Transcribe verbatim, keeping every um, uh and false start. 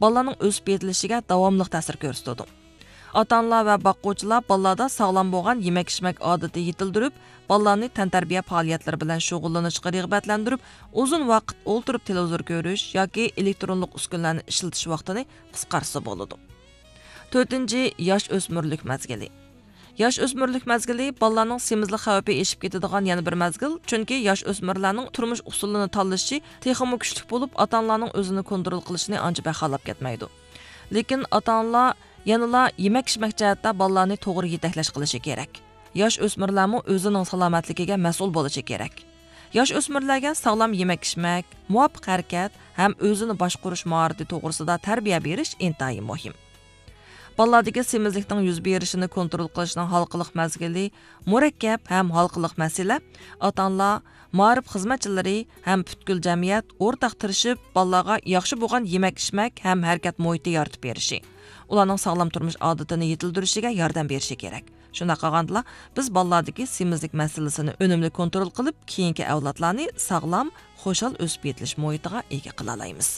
بالىلارنىڭ ئۆسۈپ يېتىلىشىگە داۋاملىق تەسىر كۆرسىتىدۇ. ئاتا-ئانىلار ۋە باققۇچىلار بالىلاردا ساغلام بولغان يېمەك-ئىچمەك ئادىتى يېتىلدۈرۈپ، بالىلارنى تەنتەربىيە پائالىيەتلىرى بىلەن شۇغۇللىنىشقا رىغبەتلەندۈرۈپ، ئۇزۇن ۋاقىت ئولتۇرۇپ تېلېۋىزور كۆرۈش ياكى ئېلېكترونلۇق ئۈسكۈنىلەرنى ئىشلىتىش ۋاقتىنى قىسقارتسا بولىدۇ. تۆتىنچى، ياش ئۆسمۈرلۈك مەزگىلى. ياش ئۆسمۈرلۈك مەزگىلى بالىلارنىڭ سېمىزلىك خەۋپى ئېشىپ كېتىدىغان يەنە بىر مەزگىل، چۈنكى ياش ئۆسمۈرلەرنىڭ تۇرمۇش ئۇسۇلىنى تاللىشى تېخىمۇ كۈچلۈك بولۇپ، ئاتا-ئانىلارنىڭ ئۆزىنى كونترول قىلىشىنى ئانچە بەك خالاپ كەتمەيدۇ. لېكىن ئاتا-ئانىلار يەنىلا يېمەك-ئىچمەك جەھەتتە بالىلارنى توغرا يېتەكلەش قىلىشى كېرەك. ياش ئۆسمۈرلەرمۇ ئۆزىنىڭ سالامەتلىكىگە مەسئۇل بولۇشى كېرەك. ياش ئۆسمۈرلەرگە ساغلام يېمەك-ئىچمەك، مۇۋاپىق ھەرىكەت ھەم ئۆزىنى باشقۇرۇش ماھارىتى توغرىسىدا تەربىيە بېرىش ئىنتايىن مۇھىم. بالىلاردىكى سېمىزلىكنىڭ يۈز بېرىشىنى كونترول قىلىشنىڭ ھالقىلىق مەزگىلى مۇرەككەپ ھەم ھالقىلىق مەسىلە. ئاتا-ئانىلار، مائارىپ خىزمەتچىلىرى ھەم پۈتكۈل جەمئىيەت ئورتاق تىرىشىپ، بالىلارغا ياخشى بولغان يېمەك-ئىچمەك ھەم ھەرىكەت مۇھىتى يارىتىپ بېرىشى، ئۇلارنىڭ ساغلام تۇرمۇش ئادىتىنى يېتىلدۈرۈشىگە ياردەم بېرىشى كېرەك. شۇنداق قىلغاندىلا، بىز بالىلاردىكى سېمىزلىك مەسىلىسىنى ئۈنۈملۈك كونترول قىلىپ، كېيىنكى ئەۋلادلارنى ساغلام، خۇشال ئۆسۈپ يېتىلىش مۇھىتىغا ئىگە قىلالايمىز.